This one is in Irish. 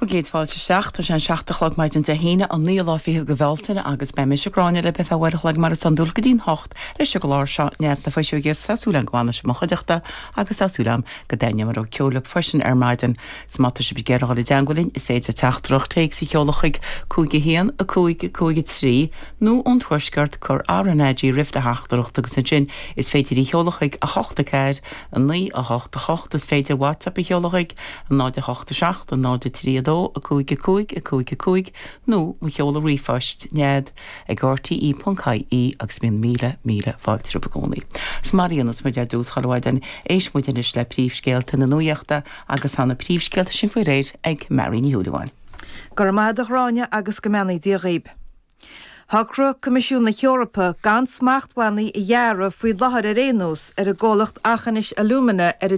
Bhur gcéad fáilte isteach. Tá sé an 7 a chlog maidin Dé hAoine, an naoú lá fichead de Bhealtaine agus beidh mise, Gráinne, libh ar feadh uair a chloig mar is iondúil go dtí'n hocht leis an gclár seo, Nead na Fuiseoige agus tá súil agam go bhfanfaidh sibh i mo chuideachta agus tá súil agam go dtaitneoidh mo rud ceoil libh freisin ar maidin. 'S má tá sibh ag iarraidh dul i dteangmháil linn is féidir teachtaireacht téacs a sheoladh chuig 5 1 5 5 3 nó ón Tuaisceart cuir RnaG roimh do theachtaireacht agus ansin is féidir í a sheoladh chuig 8 4 9 8 8 Is féidir WhatsApp a sheoladh chuig 0 8 7 0 3 2 5 5 5 5 nó mo sheoladh ríomhphoist, nead ag rte.ie agus bíonn míle, míle fáilte romhaibh i gcónaí. 'S mar a dhéanas muid ar dtús chuile mhaidin, éistfidh muid anois le príomhscéalta na nuachta agus tá na príomhscéalta sin faoi réir ag Mary Ní Shúilleabháin. Go raibh maith agat a Ghráinne agus go mbeannaí Dia dhaoib. Shocraigh Coimisiún na hEorpa gan smachtbhannaí a ghearradh, faoi láthair ar aon nós, ar an gcomhlacht Aughinish Alumina ar a.